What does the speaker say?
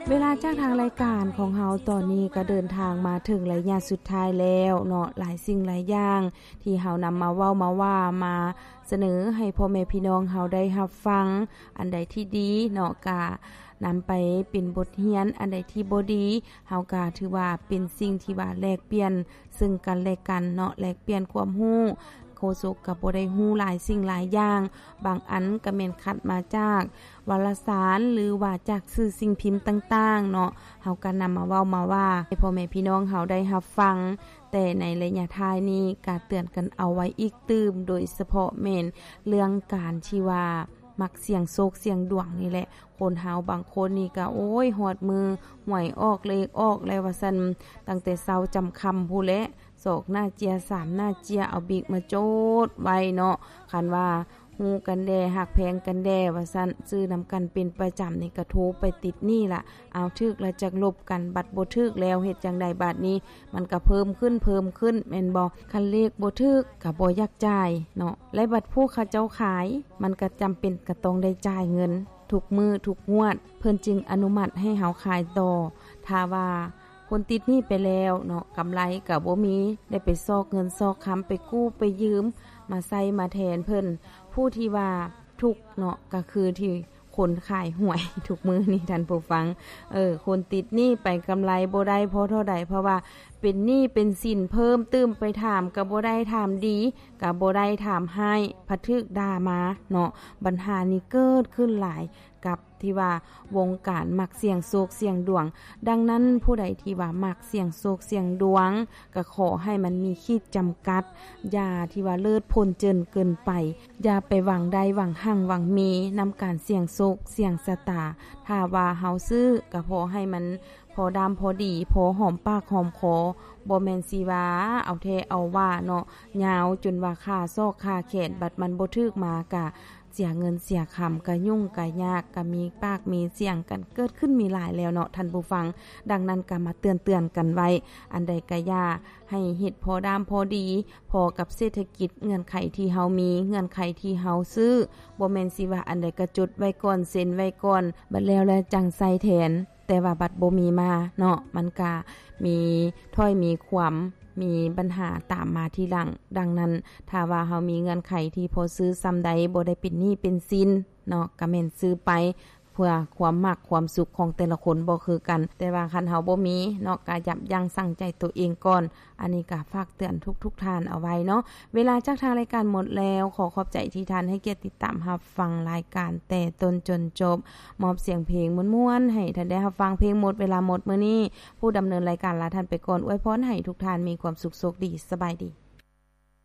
ເວລາຈາກທາງລາຍການຂອງເຮົາຕອນນີ້ກໍເດີນທາງມາເຖິງໄລຍະສຸດທ້າຍແລ້ວເນາະ. ຫຼາຍສິ່ງຫຼາຍຢ່າງທີ່ເຮົານຳມາເວົ້າມາວ່າ ມາສະເໜີໃຫ້ພໍ່ແມ່ພີ່ນ້ອງເຮົາໄດ້ຮັບຟັງ, ອັນໃດທີ່ດີເນາະ ກະນຳໄປເປັນບົດຮຽນ, ອັນໃດທີ່ບໍ່ດີ ເຮົາກະຖືວ່າເປັນສິ່ງທີ່ວ່າແລກປ່ຽນເຊິ່ງກັນແລະກັນເນາະ, ແລກປ່ຽນຄວາມຮູ້. ໂຄສົກກໍບໍ່ໄດ້ຮູ້ຫຼາຍສິ່ງຫຼາຍຢ່າງ, ບາງອັນກໍແມ່ນຄັດມາຈາກວາລະສານ ຫຼືວ່າຈາກສື່ສິ່ງພິມຕ່າງໆເນາະ, ເຮົາກໍນຳມາເວົ້າມາວ່າໃຫ້ພໍ່ແມ່ພີ່ນ້ອງເຮົາໄດ້ຮັບຟັງ. ແຕ່ໃນໄລຍະທ້າຍນີ້ກໍເຕືອນກັນເອົາໄວ້ອີກຕື່ມ, ໂດຍສະເພາະແມ່ນເລື່ອງການທີ່ວ່າມັກສ່ຽງໂຊກສ່ຽງດວງນີ້ແຫຼະ. ຄົນເຮົາບາງຄົນນີ້ກໍ ໂອ້ຍ ຮອດມື້ຫວຍອອກເລກອອກແລ້ວວ່າຊັ້ນ, ຕັ້ງແຕ່ເຊົ້າຈຳຄ່ຳພຸ້ນແຫຼະ, ສອງໜ້າເຈ້ຍ ສາມໜ້າເຈ້ຍ ເອົາບິກມາໂຈດໄວ້ເນາະ. ຄັນວ່າຮູ້ກັນແດ່ ຮັກແພງກັນແດ່ວ່າຊັ້ນ, ຊື້ນຳກັນເປັນປະຈຳນີ້ກໍໂທໄປຕິດໜີ້ລະ. ເອົາ ຖືກລະຈັກລົບກັນ, ບັດບໍ່ຖືກແລ້ວເຮັດຈັ່ງໃດບາດນີ້? ມັນກໍເພີ່ມຂຶ້ນ ເພີ່ມຂຶ້ນແມ່ນບໍ່? ຄັນເລກບໍ່ຖືກກໍບໍ່ຢາກຈ່າຍເນາະ, ແລະບັດຜູ້ເຂົາເຈົ້າຂາຍ ມັນກໍຈຳເປັນກໍຕ້ອງໄດ້ຈ່າຍເງິນທຸກມື້ທຸກງວດ, ເພິ່ນຈຶ່ງອະນຸມັດໃຫ້ເຮົາຂາຍຕໍ່. ຖ້າວ່າຄົນຕິດໜີ້ໄປແລ້ວເນາະ, ກຳໄລກໍບໍ່ມີ, ໄດ້ໄປຊອກເງິນຊອກຄຳ, ໄປກູ້ໄປຢືມມາໃຊ້ມາແທນເພິ່ນ. ຜູ້ທີ່ວ່າທຸກເນາະ ກໍຄືທີ່ຄົນຂາຍຫວຍທຸກມື້ນີ້ທ່ານຜູ້ຟັງ, ເອີ ຄົນຕິດໜີ້ໄປ ກຳໄລບໍ່ໄດ້ພໍເທົ່າໃດ, ເພາະວ່າເປັນໜີ້ເປັນສິນເພີ່ມຕື່ມ, ໄປຖາມກໍບໍ່ໄດ້, ຖາມດີກໍບໍ່ໄດ້, ຖາມຮ້າຍພັດຖືກດ່າມາເນາະ. ບັນຫານີ້ເກີດຂຶ້ນຫຼາຍກັບທີ່ວ່າວົງການມັກສ່ຽງໂຊກສ່ຽງດວງ. ດັ່ງນັ້ນ ຜູ້ໃດທີ່ວ່າມັກສ່ຽງໂຊກສ່ຽງດວງ ກໍຂໍໃຫ້ມັນມີຂີດຈຳກັດ, ຢ່າທີ່ວ່າເລີດພົ້ນເຈີນເກີນໄປ, ຢ່າໄປຫວັງໄດ້ຫວັງຮັ່ງຫວັງມີນຳການສ່ຽງໂຊກສ່ຽງຊະຕາ. ຖ້າວ່າເຮົາຊື້ກໍພໍໃຫ້ມັນພໍດ້າມພໍດີ, ພໍຫອມປາກຫອມຄໍ, ບໍ່ແມ່ນຊິວ່າເອົາແທ້ເອົາວ່າເນາະ, ຍາວຈົນວ່າຄາຊອກຄາແຂນ, ບັດມັນບໍ່ຖືກມາກະເສຍເງິນເສຍຄຳ, ກະຫຍຸ້ງກະຍາກ, ກະມີປາກມີສຽງກັນເກີດຂຶ້ນມີຫຼາຍແລ້ວເນາະທ່ານຜູ້ຟັງ. ດັ່ງນັ້ນກໍມາເຕືອນໆກັນໄວ້, ອັນໃດກໍຢ່າ ໃຫ້ເຮັດພໍດ້າມພໍດີ, ພໍກັບເສດຖະກິດ, ເງື່ອນໄຂທີ່ເຮົາມີ, ເງື່ອນໄຂທີ່ເຮົາຊື້, ບໍ່ແມ່ນຊິວ່າອັນໃດກໍຈົດໄວ້ກ່ອນ, ເຊັນໄວ້ກ່ອນ, ບັດແລ້ວແລ້ວຈັ່ງໃຊ້ແທນ, ແຕ່ວ່າບັດບໍ່ມີມາເນາະ, ມັນກະມີຖ້ອຍມີຄວາມ, ມີບັນຫາຕາມມາທີຫຼັງ. ດັ່ງນັ້ນ ຖ້າວ່າເຮົາມີເງື່ອນໄຂທີ່ພໍຊື້ສ່ຳໃດ, ບໍ່ໄດ້ເປັນໜີ້ເປັນສິນເນາະ, ກະແມ່ນຊື້ໄປ ເພື່ອຄວາມມັກຄວາມສຸກຂອງແຕ່ລະຄົນບໍ່ຄືກັນ. ແຕ່ວ່າຄັນເຮົາບໍ່ມີເນາະ, ກະຢັບຢັ້ງຊັ່ງໃຈຕົວເອງກ່ອນ. ອັນນີ້ກະຝາກເຕືອນທຸກໆທ່ານເອົາໄວ້ເນາະ. ເວລາຈາກທາງລາຍການໝົດແລ້ວ, ຂໍຂອບໃຈທີ່ທ່ານໃຫ້ກຽດຕິດຕາມຮັບຟັງລາຍການແຕ່ຕົ້ນຈົນຈົບ. ມອບສຽງເພງມ່ວນໆໃຫ້ທ່ານໄດ້ຮັບຟັງເພງໝົດເວລາໝົດມື້ນີ້. ຜູ້ດຳເນີນລາຍການລາທ່ານໄປກ່ອນ, ອວຍພອນໃຫ້ທຸກທ່ານມີຄວາມສຸກໂຊກດີ. ສະບາຍດີ.